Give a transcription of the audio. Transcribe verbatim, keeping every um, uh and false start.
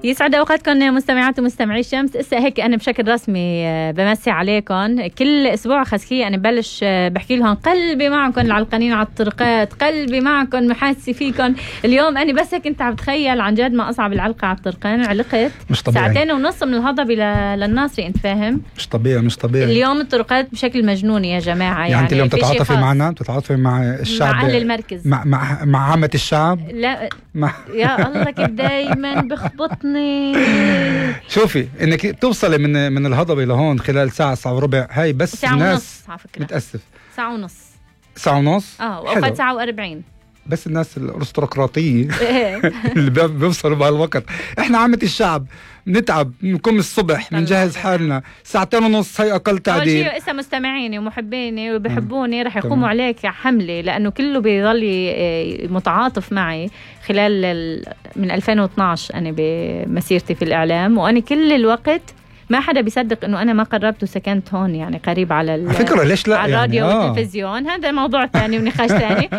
يسعد اوقاتكم مستمعات ومستمعي الشمس. اسا هيك انا بشكل رسمي بمسي عليكم. كل اسبوع خسكي انا ببلش بحكي لهم قلبي معكم العلقانين على الطرقات، قلبي معكم محاسي فيكم. اليوم انا بس هيك انت عم تخيل عن جد ما اصعب العلقه على الطرقان. علقت مش طبيعي. ساعتين ونص من الهضبه للناصري، انت فاهم؟ مش طبيعي مش طبيعي. اليوم الطرقات بشكل مجنوني يا جماعه. يعني, يعني انت اليوم تتعاطفي معنا، تتعاطفي مع الشعب، مع اهل المركز، مع مع, مع عامه الشعب. لا مع يا الله كيف دايما بخبطني. شوفي انك توصلي من من الهضبه لهون خلال ساعه ساعه وربع، هاي بس ساعة الناس ونص على فكرة. متاسف ساعه ونص ساعه ونص اه واوقات ساعه وأربعين. بس الناس الارستقراطيه اللي بيوصلوا بهالوقت. احنا عامه الشعب بنتعب، بنقوم الصبح بنجهز حالنا ساعتين ونص، هي اقل تعديل. اول شيء اسا مستمعيني ومحبيني وبحبوني رح يقوموا عليك حمله، لانه كله بيضل متعاطف معي خلال ال... من ألفين واثناشر انا بمسيرتي في الاعلام، وانا كل الوقت ما حدا بيصدق انه انا ما قربت وسكنت هون، يعني قريب على فكرة ليش لا على الراديو يعني والتلفزيون. هذا موضوع ثاني ونقاش ثاني.